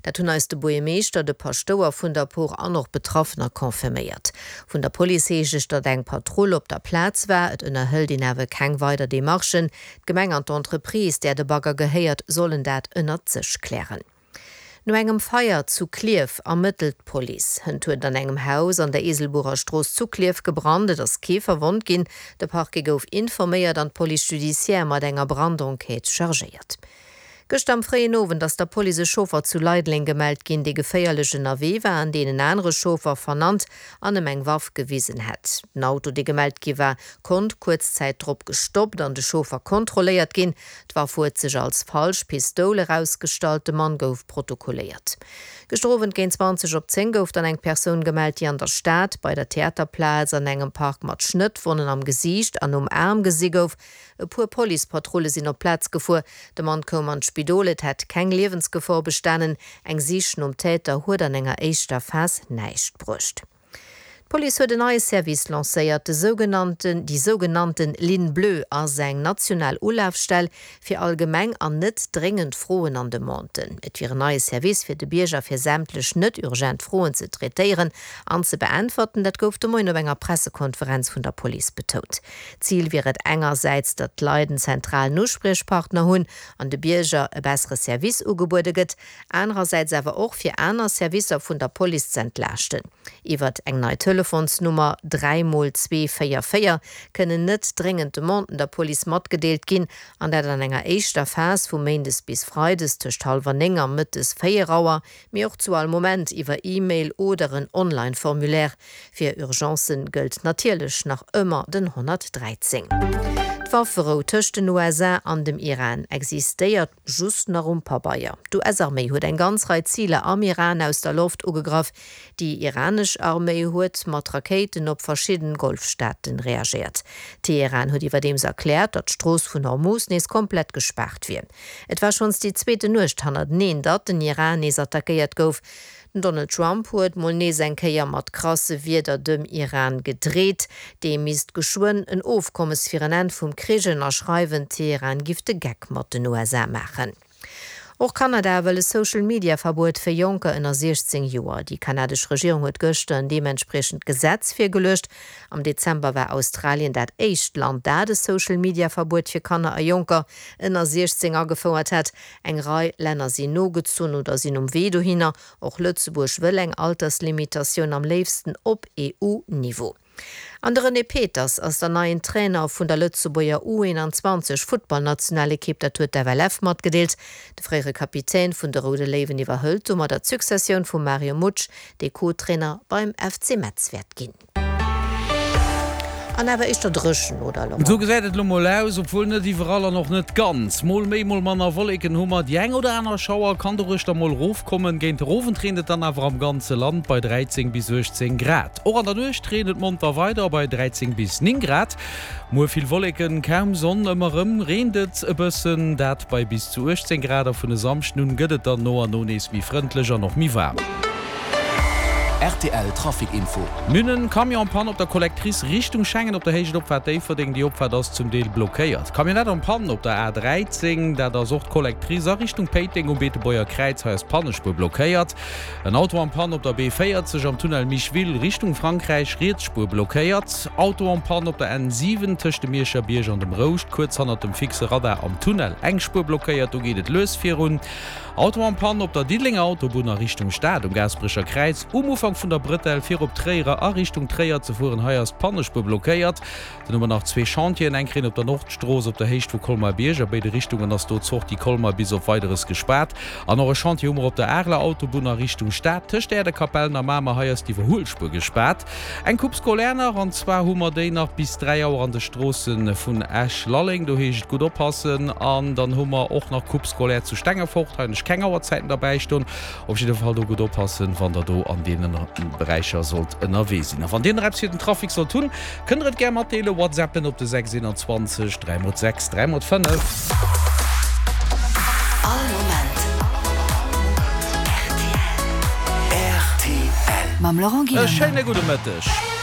Dat hunn eis de Buergermeeschter, de Paschtouer vun der Por an och Betraffener confirméiert. Vun der Police heescht et, datt eng Patrull op der Plaz war. Et ënnerhëlt een awer keng weider Demarchen. D'Gemeng an d'Entreprise, där de Bagger gehéiert, sollen dat ënnert sech klären. No engem Feier zu Klierf ermëttelt d'Police. Hënt huet et an engem Haus an der Eeselburer Strooss zu Klierf gebrannt. Et ass kee verwonnt ginn. De Parquet gouf informéiert an d'Police judiciaire mat enger Brandenquête chargéiert. Gëschter am fréien Owend ass der Police e Chauffer zu Leideleng gemellt ginn, dee geféierlech ënnerwee war an deen en anere Chauffer vernannt an ëm eng Waff gewisen hätt. Den Auto, dee gemellt gi war, konnt kuerz Zäit drop gestoppt an de Chauffer kontrolléiert ginn. D'Waff huet sech als falsch Pistoul erausgestallt, de Mann gouf protokolléiert. Gëschter Owend géint 20 op 10 gouf dann eng Persoun gemellt, déi an der Stad bei der Theaterplaz an engem Park mat Schnëttwonnen am Gesiicht an um Aarm gesi gouf. E puer Policepatrulle sinn op d'Plaz gefuer. De Mann koum an d'Spidol, et hätt keng Liewensgefor bestanen. Eng Sich nom Täter huet an enger éischter Phas näischt bruecht. D'Police huet en neie Service lancéiert, de sougenannten déi sougenannten Ligne bleue ass eng national Ulafstell fir allgemeng an net dréngend Froen an Demanden. Et wier en neie Service fir de Bierger fir sämtlech net urgent Froen ze traitéieren an ze beäntwerten. Dat gouf de Moien op enger Pressekonferenz vun der Police betount. Zil wier et engersäits, datt d'Leit en zentralen Uspriechpartner hunn an de Bierger e bessere Service ugebuede gëtt, anerersäits awer och fir aner Servicer vun der Police z'entlaaschten. Iwwert eng nei Telefonsnummer, 3 mol 2 4 4, kënnen net dréngend Demanden der Police matgedeelt ginn, an dat an enger éischter Phas vu méindes bis freides tëscht hallwer 9 a mëttes 4 Auer, mee och zu all Moment iwwer E-Mail oder en Online-Formulaire. Fir Urgencen gëllt natierlech nach ëmmer den 113. D'Wafferou tëscht den USA an dem Iran existéiert just nach um Pabeier. D'US-Arméi huet eng ganz Rei Ziler am Iran aus der Loft ugegraff. Déi iranesch Arméi huet mat Rakéiten op verschidden Golfstaaten reagéiert. Teheran huet iwwerdeems erkläert, datt d'Strooss vun Hormuz nees komplett gespaart wier. Et war schonns déi zweeten Nuecht hannerteneen, datt den Iran nees attackéiert gouf. Den Donald Trump huet mol nees eng Kéier mat krasse Wierder dem Iran gedreet. Dee misst geschwënn en Ofkommes fir en Enn vum Krich ënnerschreiwen. Teheran giff de Geck mat den USA maachen. Och Kanada wëll e Social-Media-Verbuet fir Jonker ënner 16 Joer. Déi kanadesch Regierung huet gëschter en deementspriechend Gesetz virgeluecht. Am Dezember war Australien dat éischt Land, dat e Social-Media-Verbuet fir Kanner a Jonker ënner 16 agefouert hat. Eng Rei Länner sinn nogezunn oder sinn um Wee dohinner. Och Lëtzebuerg wëll eng Alterslimitatioun, am léifsten op EU-Niveau. An de René Peters ass der neien Trainer vun der Lëtzebuerger U21 Futtballnationalekipp, dat huet d'FLF matgedeelt. De fréiere Kapitän vun de Roude Léiwen iwwerhëlt domadder d'Successioun vum Mario Mutsch, dee Co-Trainer beim FC Metz wäert ginn. An awer éischter dréchen, oder Laurent? Esou gesäit et elo mol aus, obwuel net iwwerall an och net ganz. Mol méi, mol manner Wolleken hu mer, déi eng oder aner Schauer kann doruechter mol rofkommen. Géint de Owend reent et dann awer am ganze Land bei 13 bis 18 Grad. Och an der Nuecht reent et monter weider bei 13 bis 9 Grad. Muer vill Wolleken, kaum Sonn, ëmmer rëm reent et e bëssen, dat bei bis zu 18 Grad a vun e Samschden un gëtt et dann no an no nees méi frëndlech an och méi waarm. Rtl Trafic Info. Mir hunn en Camion en panne op der Collectrice Richtung Schengen op der Héicht Opfaart Déifferdeng. Déi Opfaart ass zum Deel blockéiert. Camionnette en panne op der A 13, dat ass och d'Collectrice a Richtung Péiteng um Beetebuerger Kräiz. Hei ass d'Pannespuer blockéiert. En Auto en panne op der B 40 am Tunnel Micheville Richtung Frankräich, riets Spuer blockéiert. Auto en panne op der N 7 tëscht dem Mierscher Bierg an dem Rouscht, kuerz hannert dem fixe Radar am Tunnel, eng Spuer blockéiert, do geet et lues virun. Auto en panne op der Diddelenger Autobunn a Richtung Stad um Gaasperecher Kräiz, um Ufank vun der Brëtell fir op Tréier a Richtung Tréier ze fueren. Hei ass d'Pannespuer blockéiert. Dann hu mer nach zwee Chantieren, eng Kéier op der Nordstrooss op der Héicht vu Colmar-Bierg, a béide Richtungen ass do d'Sortie Colmar bis op Weideres gespaart. An och e Chantier hu mer op der Areler Autobunn a Richtung Stad, tëscht Äerdekapellen a Mamer, hei ass d'Iwwerhuelspuer gespaart. Eng Coupe scolaire nach, an zwar hu mer déi nach bis 3 Auer an de Stroosse vun Esch-Lalleng, do heescht et gutt oppassen. An dann hu mer och nach Coupe scolaire zu Stengefort, hei hunn ech keng Auerzäiten derbäi stoen. Op jidde Fall do gutt oppassen, wann der do an deene Beräicher sollt ënnerwee sinn. A wann dir nach eppes fir den Trafic sollt hunn, kënnt der et gär matdeelen. Whatsappen op de 6 21 3 x 6 3 x 5. All Moment rtl. Rtl. Mam Laurent E Gillander. schéine gudde Mëtteg.